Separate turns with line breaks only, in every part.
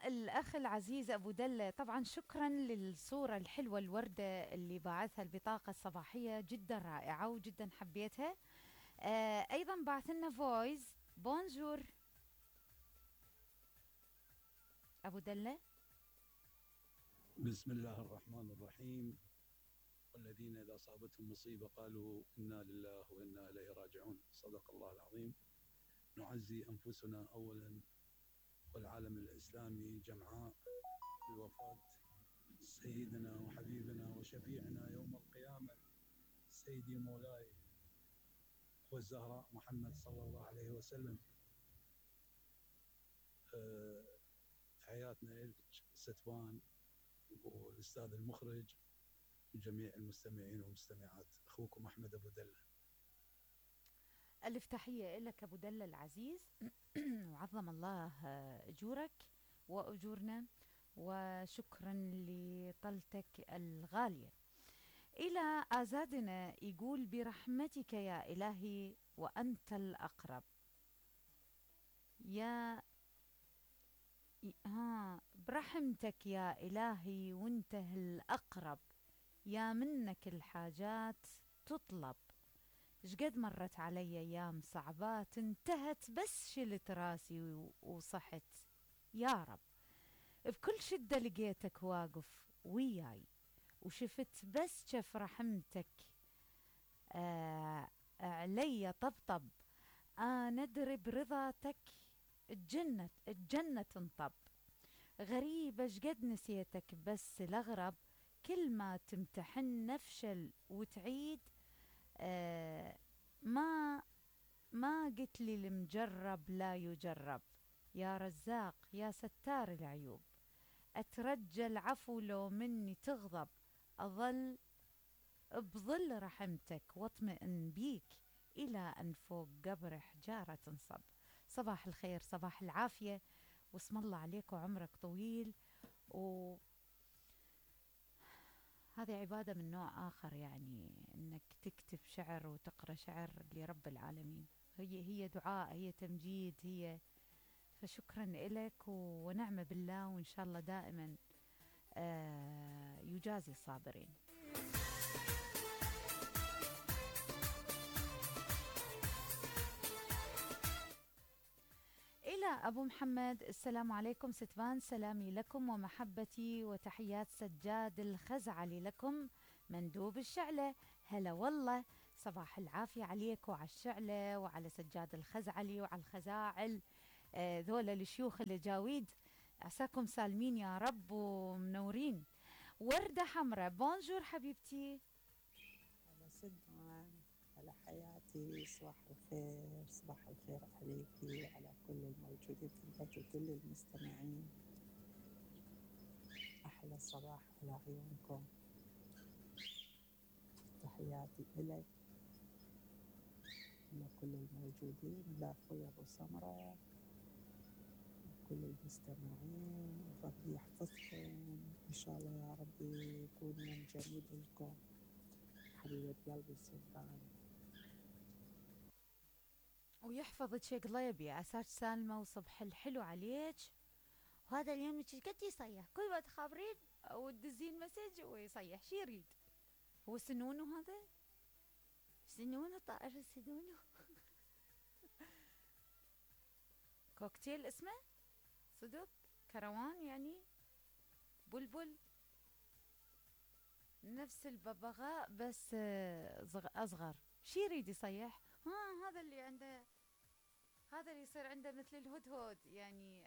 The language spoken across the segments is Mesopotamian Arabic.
الأخ العزيز أبو دلة، طبعا شكرا للصورة الحلوة الوردة اللي باعثها البطاقة الصباحية، جدا رائعة وجدا حبيتها. أيضا بعث لنا فويس. بونجور أبو دلة.
بسم الله الرحمن الرحيم. والذين إذا أصابتهم مصيبة قالوا إنا لله وإنا إليه راجعون. صدق الله العظيم. نعزي أنفسنا أولا والعالم الإسلامي جمعاء بوفاة سيدنا وحبيبنا وشفيعنا يوم القيامة سيدي مولاي والزهراء محمد صلى الله عليه وسلم. تحياتنا لك ستفان والأستاذ المخرج وجميع المستمعين والمستمعات. أخوكم أحمد أبو دلة.
ألف تحية لك أبو دلة العزيز. وعظم الله أجورك وأجورنا، وشكرا لطلتك الغالية. إلى آزادنا يقول برحمتك يا إلهي وأنت الأقرب يا برحمتك يا إلهي وانت الأقرب، يا منك الحاجات تطلب. شقد مرت علي أيام صعبات انتهت بس شلت راسي وصحت يا رب. بكل شدة لقيتك واقف وياي، وشفت بس شف رحمتك علي طبطب. ندري برضاتك الجنة تنطب. غريبة شقد نسيتك بس الأغرب، كل ما تمتحن نفشل وتعيد. ما قلت لي المجرب لا يجرب. يا رزاق يا ستار العيوب، أترجى العفو لو مني تغضب. أظل بظل رحمتك واطمئن بيك إلى أن فوق قبر حجارة تنصب. صباح الخير، صباح العافية، واسم الله عليك وعمرك طويل. وهذه عبادة من نوع آخر، يعني أنك تكتب شعر وتقرأ شعر لرب العالمين. هي دعاء، هي تمجيد، هي. فشكرا لك ونعم بالله، وإن شاء الله دائما يجازي الصابرين. إلى أبو محمد، السلام عليكم ستفان، سلامي لكم ومحبتي وتحيات سجاد الخزعلي لكم مندوب الشعلة. هلا والله، صباح العافية عليك وعلى الشعلة وعلى سجاد الخزعلي وعلى الخزاعل، ذولا الشيوخ الجاويد. عساكم سالمين يا رب ومنورين. وردة حمراء، بونجور حبيبتي.
على سدمان، على حياتي، صباح الخير، صباح الخير عليكي وعلى كل الموجودين في البث وكل المستمعين. أحلى صباح على عيونكم. تحياتي إلك لكل الموجودين، لأخوي أبو سمرة وكل المستمعين. ربي يحفظكم إن شاء الله يا ربي، يكون يوم جميل لكم. حبيبة قلبي السلطان،
ويحفظك يا قليبي، عساك سالمة وصبح الحلو عليك. وهذا اليوم قد يصيح كل ما تخابرين وتدزين مسج ويصيح شي يريد. هو سنونه هذا، سنونه طائر سنونه. كوكتيل اسمه صدق، كروان يعني، بلبل، نفس الببغاء بس أصغر. شي يريد يصيح؟ هذا اللي عنده، هذا اللي يصير عنده مثل الهدهد يعني،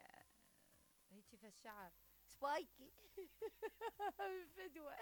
هيك في الشعر سبايكي. فدوة.